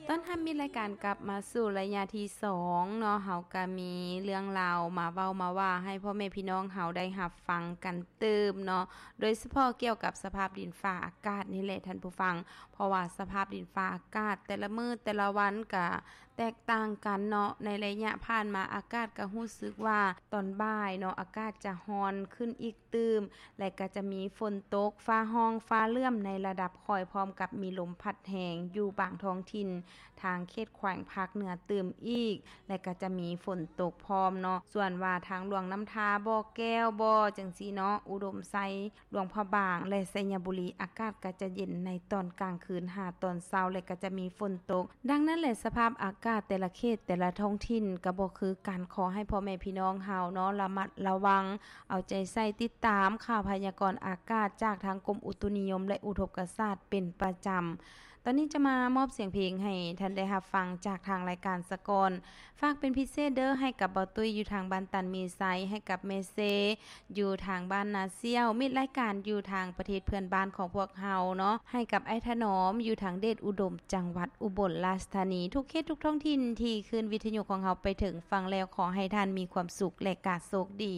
ຕ້ອນຮັບມິດລາຍການກັບມາສູ່ໄລຍະທີສອງເນາະ, ເຮົາກະມີເລື່ອງລາວມາເວົ້າມາວ່າໃຫ້ພໍ່ແມ່ພີ່ນ້ອງເຮົາໄດ້ຮັບຟັງກັນຕື່ມເນາະ, ໂດຍສະເພາະກ່ຽວກັບສະພາບດິນຟ້າອາກາດນີ້ແຫຼະທ່ານຜູ້ຟັງ, ເພາະວ່າສະພາບດິນຟ້າອາກາດແຕ່ລະມື້ແຕ່ລະວັນກະແຕກຕ່າງກັນເນາະ. ໃນໄລຍະຜ່ານມາອາກາດກະຮູ້ສຶກວ່າຕອນບ່າຍເນາະ ອາກາດຈະຮ້ອນຂຶ້ນອີກຕື່ມ ແລະ ກະຈະມີຝົນຕົກ, ຟ້າຮ້ອງ, ຟ້າເຫຼື້ອມໃນລະດັບຄ່ອຍ, ພ້ອມກັບມີລົມພັດແຮງຢູ່ບາງທ້ອງຖິ່ນ ທາງເຂດແຂວງພາກເໜືອຕື່ມອີກ ແລະ ກະຈະມີຝົນຕົກພ້ອມເນາະ. ສ່ວນວ່າທາງຫຼວງນ້ຳທາ, ບໍ່ແກ້ວບໍ ຈັ່ງຊີ້ເນາະ, ອຸດົມໄຊ, ຫຼວງພະບາງ ແລະ ໄຊຍະບູລີ ອາກາດກະຈະເຢັນໃນຕອນກາງຄືນຫາຕອນເຊົ້າ ແລະ ກະຈະມີຝົນຕົກ. ດັ່ງນັ້ນແຫຼະ ສະພາບອາກາດແຕ່ລະເຂດແຕ່ລະທ້ອງຖິ່ນກະບໍ່ຄືກັນ, ຂໍໃຫ້ພໍ່ແມ່ພີ່ນ້ອງເຮົາເນາະ ລະມັດລະວັງ ເອົາໃຈໃສ່ຕິດຕາມຂ່າວພະຍາກອນອາກາດຈາກທາງກົມອຸຕຸນິຍົມ ແລະ ອຸທົກກະສາດເປັນປະຈຳ. ຕອນນີ້ຈະມາມອບສຽງເພງໃຫ້ທ່ານໄດ້ຮັບຟັງຈາກທາງລາຍການສະກ່ອນ. ຝາກເປັນພິເສດເດີ້ ໃຫ້ກັບເບົາຕຸ້ຍຢູ່ທາງບ້ານຕັນມີໄຊ, ໃຫ້ກັບແມ່ເຊຢູ່ທາງບ້ານນາສ່ຽວ, ມິດລາຍການຢູ່ທາງປະເທດເພື່ອນບ້ານຂອງພວກເຮົາເນາະ, ໃຫ້ກັບອ້າຍຖະໜອມຢູ່ທາງເດດອຸດົມ ຈັງຫວັດອຸບົນລາຊທານີ, ທຸກເຂດທຸກທ້ອງຖິ່ນທີ່ຄື້ນວິທະຍຸຂອງເຮົາໄປເຖິງຝັ່ງແລ້ວ, ຂໍໃຫ້ທ່ານມີຄວາມສຸກ ແລະ ກະໂຊກດີ.